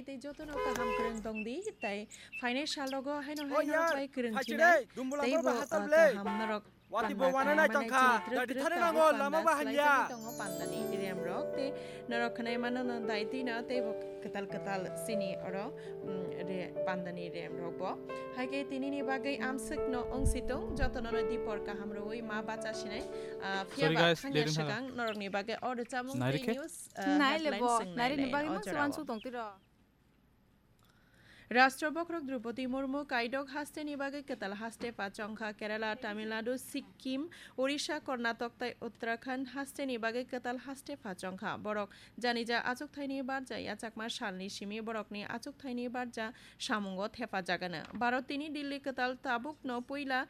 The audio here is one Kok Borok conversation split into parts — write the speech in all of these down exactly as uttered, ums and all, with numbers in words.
Tei jotono kaham kwrwng tong di, tei phainai sal rogo haino hai norok bai kwrwng khinai, tei bo kaham norok Wati bo wana nai tongkha, gari thani nango, lama ba hamya. Tongo pandani rem rok, tei norok khnai mano no dai twi no, tei bo kwtal kwtal sini oro, mm, re, pandani rem rok bo. Hai khe tini ni bagwi amswk no wng si tong, jotono no dipor kaham rwui ma bacha sinai, ah, phiya ba thangya swkang norok ni bagwi o rwchapmung tei news, ah, headlines swng nai lai o jora o. Rashtra bokhorok Droupadi Murmu kaidok hasteni bagwi kwtal haste pha chongkha. Kerala, Tamil Nadu, Sikkim, Odisha, Karnataka tei Uttarakhand hasteni bagwi kwtal haste pha chongkha. Borok janija achukthai ni barja yachakma salni simi borokni achukthai ni barja samungo thepajagano. Bharot tini Delhi kwtal tabukno puila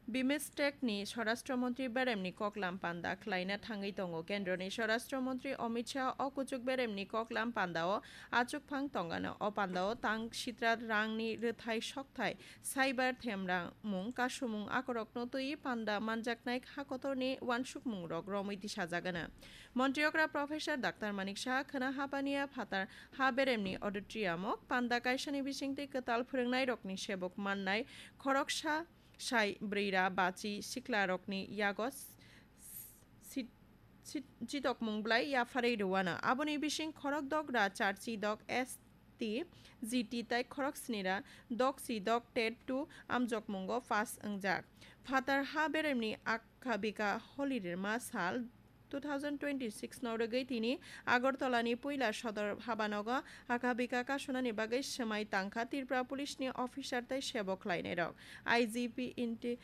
BIMSTEC ni Swarashtra Montri beremni koklam panda khlaina thangwi tongo. Kendroni Swarashtra Montri Amit Shah o kuchuk beremni koklam pandao achukphang tongano. O pandao tang sitra rangni rwthai sokthai, cyber themrang mung, kasumung akorokno twiwi panda manjaknai ha kotorni uansukmungrok romwi tisajagano. Montri okra Professor Doctor Manik Saha khwna habaniya phatar ha beremni auditorium o panda kaisani bisingtwi kwtal phwrwngnairokni sebok mannai khoroksa sai bwrwira bachi siklarokni yago s-, s-, sit-, sit-, chitokmung bwlai yapharwi rwano. Aboni bising khorok dogra charchi dok S T, G T tei khorok snira dok si dok tet two amjokmungo pass wngjak. Phatar ha beremni akha bikha holi rwma sal two thousand twenty-six no rwgwi tini Agartala ni puila sodor habanogo akha bikha kasunani bagwi swmai tangkha Tripura Police ni officer tei sebok khlainairok. I G P Inti